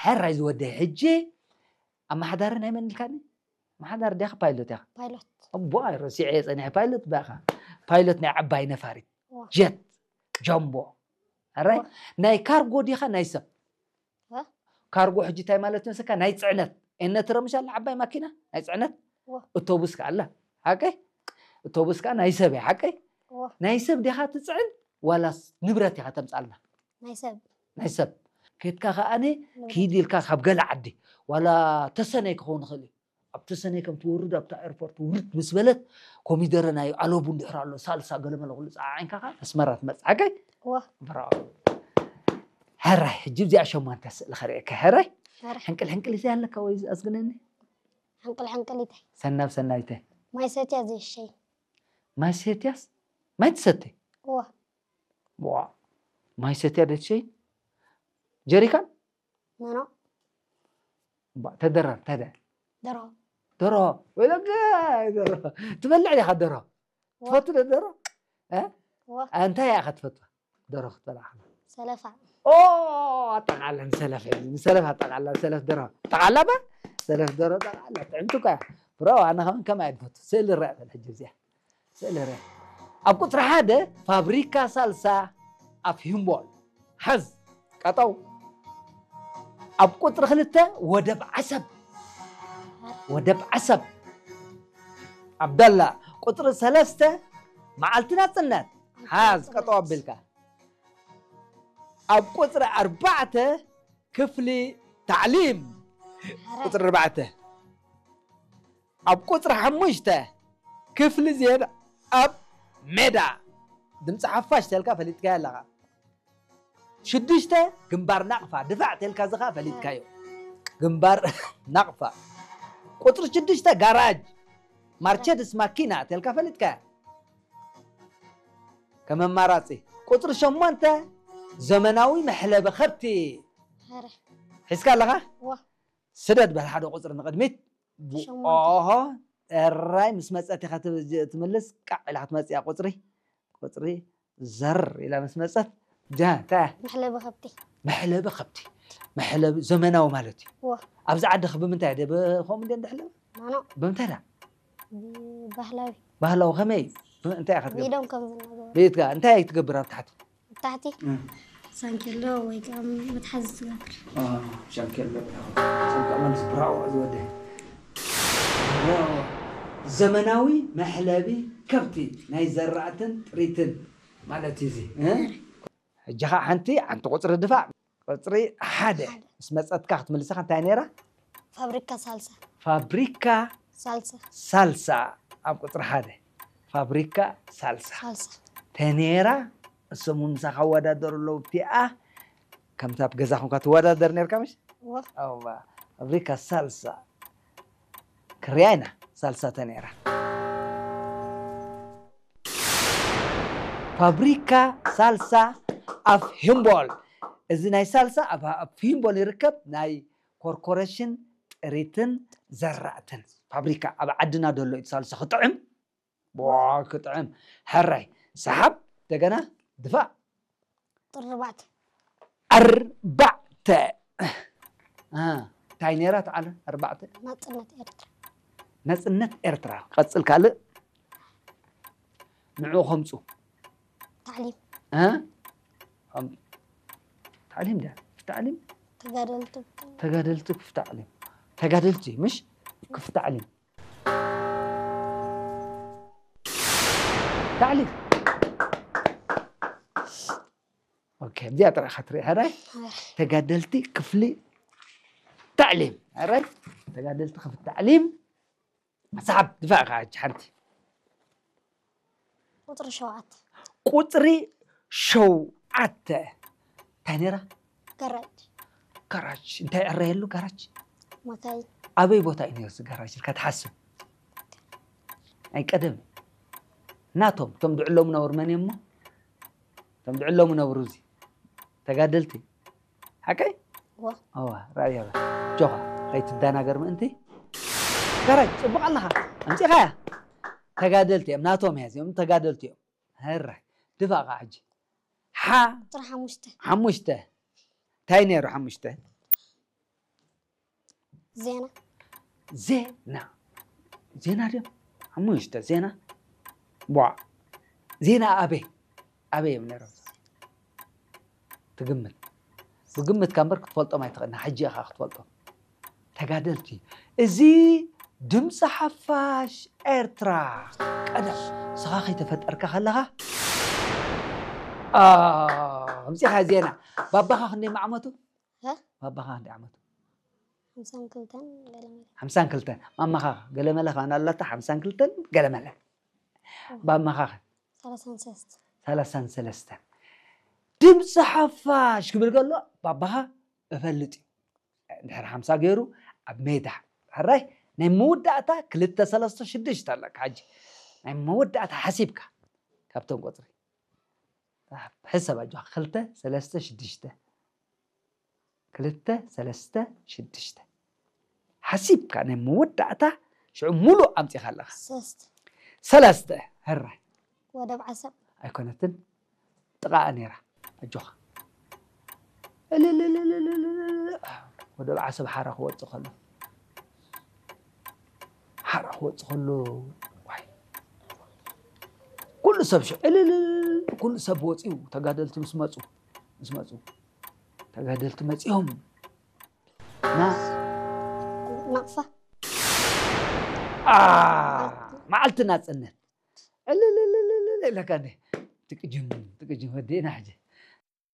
ሕራይ ዝወደይ ሕጂ ኣመሓዳሪ ናይ መን ኢልካኒ? ኣመሓዳሪ ዲኻ ፓይሎት ኢኻ? ፓይሎት እቦ ረሲዐ ጸኒሐ። ፓይሎት ባኻ፣ ፓይሎት ናይ ዓባይ ነፋሪት ዋ። ጀት ጃምቦ። ሕራይ ዋ። ናይ ካርጎ ዲኻ ናይ ሰብ? ዋ። ካርጎ ሕጂ እንታይ ማለት መስለካ? ናይ ጽዕነት ኤነ ትረምሻ ኣላ ዓባይ ማኪና ናይ ጽዕነት ዋ። እቶቡስ ከ ኣላ ሓቀይ? እቶቡስ ከ ናይ ሰብ እያ ሓቀይ? ዋ። ናይ ሰብ ዲኻ ትጽዕን ዋላስ ንብረት ኢኻ ተምጻልና? ናይ ሰብ ናይ ሰብ ከድካ ከኣኒ ንብረት። ኪድ ኢልካ ካብ ገለ ዓዲ ዋላ ተሰነይ ክኸውን ይኽእል እዩ። ኣብ ተሰነይ ከም ትወርድ ኣብታ ኤርፖርት ውርድ ምስ በለት ኮሚደረ ናይ ኣለቡ እንድሕር ኣሎ ሳልሳ ገለመለ ኩሉ ጸዓዒንካ ከኣ ኣስመራ ትመጽእ ሓቀይ? ዋ ብራኦ። ሕራይ ሕጂ እዚኣ ሸሞንተ ስእሊ ከርእየካ። ሕራይ ሕራይ። ሕንቅል ሕንቅል እንታይ ኣለካ ወይ ኣዝግነኒ? ሕንቅል ሕንቅል እንታይ ሰናብ ሰናይተ ማይ ሰትያ ዘይሸይ ማይ ሰትያስ ማይ ትሰትይ? ዋ ዋ ማይ ሰትያ ደትሸይ ጀሪካን መኖ ባ ተደራር ተደ ደሮ ደሮ ወይለጋ ደሮ ትበልዕ ዲኻ ደሮ? ትፈቱ ዶ ደሮ? እ? ዋ እንታይ ኢኻ ትፈትዋ? ደሮ ክትበልዓ ከላ ሰለፋ ኦ ኣጠቃላ ንሰለፍ ሕጂ ንሰለፍ ኣጠቃላ ሰለፍ ደሮ ጠቃላ ባ ሰለፍ ደሮ ጠቃላ ጥዕምቲ እኳ እያ። ብሮ ኣነ ከምን ከማይ ድፈቱ ስእሊ ርኣ በል ሕጂ እዚኣ ስእሊ ርኣ ኣብ ቁፅሪ ሓደ ፋብሪካ ሳልሳ ኣፍ ሂምቦል ሓዝ ቀጠው ኣብ ቁፅሪ ክልተ ወደብ ዓሰብ ወደብ ዓሰብ ዓብደላ ቁፅሪ ሰለስተ መዓልቲ ናፅነት ሓዝ ቀጠው ኣቢልካ ኣብ ቁፅሪ ኣርባዕተ ክፍሊ ታዕሊም ቁፅሪ ኣርባዕተ ኣብ ቁፅሪ ሓሙሽተ ክፍሊ ዜና ኣብ ሜዳ ድምፂ ሓፋሽ ተልካ ፈሊጥካዮ ኣለኻ ሽዱሽተ ግንባር ናቕፋ ድፋዕ ተልካ ዝኻ ፈሊጥካዮ ግንባር ናቕፋ ቁፅሪ ሽዱሽተ ጋራጅ ማርቸድስ ማኪና ተልካ ፈሊጥካያ ከም ኣማራፂ ቁፅሪ ሸሞንተ ዘመናዊ መሕለቢ ከብቲ ኧረ ሒዝካ ኣለኻ ዋ ስደድ በል ሓደ ቁፅሪ ንቕድሚት ሸሞንተ። ኦሆ እራይ ምስ መፀት ኢኻ ትብ- ትምልስ ቃዕ ኢላ ክትመፅእ እያ ቁፅሪ ቁፅሪ ዘር ኢላ ምስ መፀት ጃ እንታይ እያ? መሕለቢ ከብቲ መሕለቢ ከብቲ መሕለቢ ዘመናዊ ማለት እዩ ዋ ኣብዚ ዓድኺ ብምንታይ ደ ከምኡ እንደ እንደሕለበ ማኖ ብምንታይ ዳ ባህላዊ ባህላዊ ከመይ እዩ? እንታይ ኢኻ ትገብር ኢዶም ከም ዝናገሩ ቤትካ እንታይ ትገብር ኣብ ታሕቲ ታሕቲ ሳንኬሎ ወይ ከዓ መትሓዚ ትገብር ሻንኬሎ ሻንኬሎ ዝብራኦ ዝወደ ዘመናዊ መሕለቢ ከብቲ ናይ ዘራእትን ጥሪትን ማለት እዩ እዚ እ? ሕጂ ከዓ ሓንቲ ሓንቲ ቁፅሪ ድፋዕ ቁፅሪ ሓደ ምስ መፀትካ ክትምልሰኻ እንታይ ነይራ ፋብሪካ ሳልሳ ፋብሪካ ሳልሳ ሳልሳ ኣብ ቁፅሪ ሓደ ፋብሪካ ሳልሳ ሳልሳ ተኔራ እሶም እውን ምሳኻ ኣወዳደሩ ኣለዉ እቲኣ ከምታ ኣብ ገዛ ኮንካ ትወዳደር ነርካ ምሽ ዋ ኣዋ ፋብሪካ ሳልሳ ክርያ ኢና ሳልሳ ተኔራ ፋብሪካ ሳልሳ ኣፍ ሂምቦል እዚ ናይ ሳልሳ ኣብ ኣፍ ሂምቦል ይርከብ ናይ ኮርፖሬሽን ጥሪትን ዘራእትን ፋብሪካ ኣብ ዓድና ደሎ እዩ ሳልሳ ክጥዕም ዋ ክጥዕም ሕራይ ሰሓብ እንደገና ድፋእ ጥርባዕተ ኣርባዕተ እ፣ እንታይ ነይራ ተዓለ ኣርባዕተ ናፅነት ኤርትራ ነፅነት ኤርትራ ቀፅል ካልእ ንዑ ከምፁ ታዕሊም እ? ከም- ታዕሊም ዳ ታዕሊም ተጋደልቲ ተጋደልቲ ክፍ ታዕሊም ተጋደልቲ ምሽ ክፍ ታዕሊም ታዕሊም ኦኬ እዚኣ ጥራይ ኢኻ ትርኢ ሕራይ ተጋደልቲ ክፍሊ ታዕሊም ሕራይ ተጋደልቲ ክፍሊ ታዕሊም ሰሓብ ድፋዕ ኢኻ ሕጂ ሓንቲ ቁፅሪ ሸውዓተ ቁፅሪ ሸውዓተ እንታይ ነይራ ገራጅ ጋራጅ እንታይ ዕረየሉ ጋራጅ መካይን ኣበይ ቦታ እዩ ነይሩ እዚ ጋራጅ ኢልካ ትሓስብ ናይ ቀደም ናቶም እቶም ድዕሎም ነብሩ መን እዮሞ እቶም ድዕሎም ነብሩ እዚ ተጋደልቲ ሓቀይ ዋ ኣዋ ራእያ ጆኻ ከይትደናገር ምእንቲ ጋራጅ ፅቡቕ ኣለኻ ኣምፂኻያ ተጋደልቲ እዮም ናቶም እያ እዚኦም ተጋደልቲ እዮም ህራይ ድፋ ኸዓ ሕጂ ሓ ቁፅሪ ሓሙሽተ ሓሙሽተ እንታይ ነይሩ ሓሙሽተ ዜና። ዜና ዜና ድዮም ሓሙሽተ ዜና ቧ ዜና ኣበይ ኣበይ እዮም ነይሮም ትግምት ብግምት ካ እምበር ክትፈልጦም ኣይትኽእልና ሕጂ ኢኻ ክትፈልጦም ተጋደልቲ እዚ ድምፂ ሓፋሽ ኤርትራ ቀደም ስኻ ከይተፈጠርካ ከለኻ ኣምፂኻ ዜና ባባኻ ክንደይ መዓመቱ ሀ? ባባኻ ክንደይ ዓመቱ ሓምሳን ክልተን ገለመለ ሓምሳን ክልተን ማማኻ ገለመለ ኸ ኣላታ ሓምሳን ክልተን ገለመለ ባማኻ ኸ ሰላሳን ሰለስተ ሰላሳን ሰለስተን ድምፂ ሓፋሽ ክብል ከሎ ባባኻ እፈልጥ እዩ እንድሕር ሓምሳ ገይሩ ኣብ ሜዳ ሕራይ ናይ መወዳእታ ክልተ ሰለስተ ሽዱሽተ ኣለካ ሕጂ ናይ መወዳእታ ሓሲብካ ካብቶም ቁፅሪ ሕሰብ ኣጆኻ ክልተ ሰለስተ ሽዱሽተ ክልተ ሰለስተ ሽዱሽተ ሓሲብካ ናይ መወዳእታ ሽዑ ሙሉእ ኣምፂኻ ኣለኻ ሰስት ሰለስተ ህራይ ወደብ ዓሰብ ኣይኮነትን ጥቓኣ ነይራ ኣጆኻ እልልልልልልልል። ወደብ ዓሰብ ሓራ ክወፅእ ከሎ ሓራ ክወፅእ ከሎ ዋይ ኩሉ ሰብ ሽዑ እልልል ኩሉ ሰብ ወፂኡ ተጋደልቲ ምስ መፁ ምስ መፁ ተጋደልቲ መፂኦም ና ናቕፋ ኣ፣ መዓልቲ ናፅነት ዕልልልልልል ኢለካ እንደ ትቅጅም ትቅጅም ወዲእና ሕጂ